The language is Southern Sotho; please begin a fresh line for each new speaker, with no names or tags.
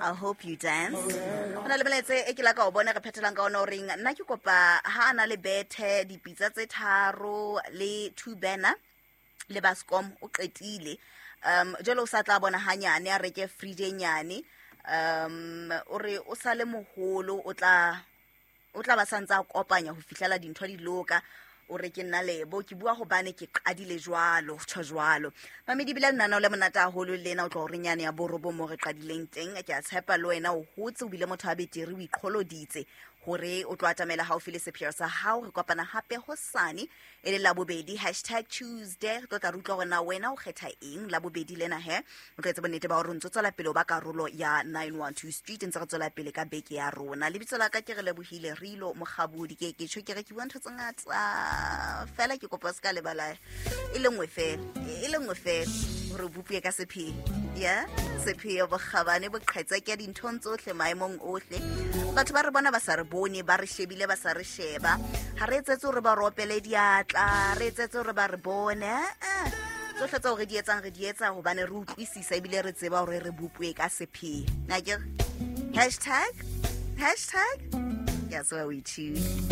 I hope you dance. Ho na le melaetsa e ke la ka o bona re phethelang ka ona o reng nna ke kopa ha a na le bethe dipitsa tse tharo le two banner le bascom o qetile. Jwale o sa tla bona hanyane a reke fridge e nyane. O re o sa le moholo o tla o tla ba santse a kopanya ho fihlela dintho di loka. O re ke nna Lebo, ke bua hobane ke qadile jwalo, tjho jwalo. Mamedi bile lenaneo le monate haholo lena, o tlo re nyane ya borobo mo re qadileng teng. Ke a tshepa le wena o hotse, o bile motho a betere, o iqholoditse hore o tlo atamela haufi le sepheo sa hao. Re kopana hape hosane e le Labobedi, hashtag Tuesday. Re tlo tla re utlwa hore na wena o kgetha eng Labobedi lena he. O tlo etsa bonnete ba hore o ntso tswela pele o ba karolo ya 912 Street, ntse re tswela pele ka beke ya rona. Lebitso la ka ke re lebohile Rilo Mokgabodi. Ke ke tjho ke re ke bua ntho tse ngata fela, ke kopa o se ka lebala e le nngwe fela, e le nngwe fela hore o bopuwe ka sepheo. Ya sepheo, bokgabane, boqhetseke dinthong tsohle, maemong ohle. Batho ba re bona ba sa re bone, ba re shebile ba sa re sheba. Ha re etsetse hore ba re opele diatla, re etsetse hore ba re bone. Eh, tsohle tseo re di etsang re di etsa hobane re utlwisisa ebile re tseba hore re bopuwe ka sepheo. Na ke re hashtag, hashtag, ke a tseba o ithuta.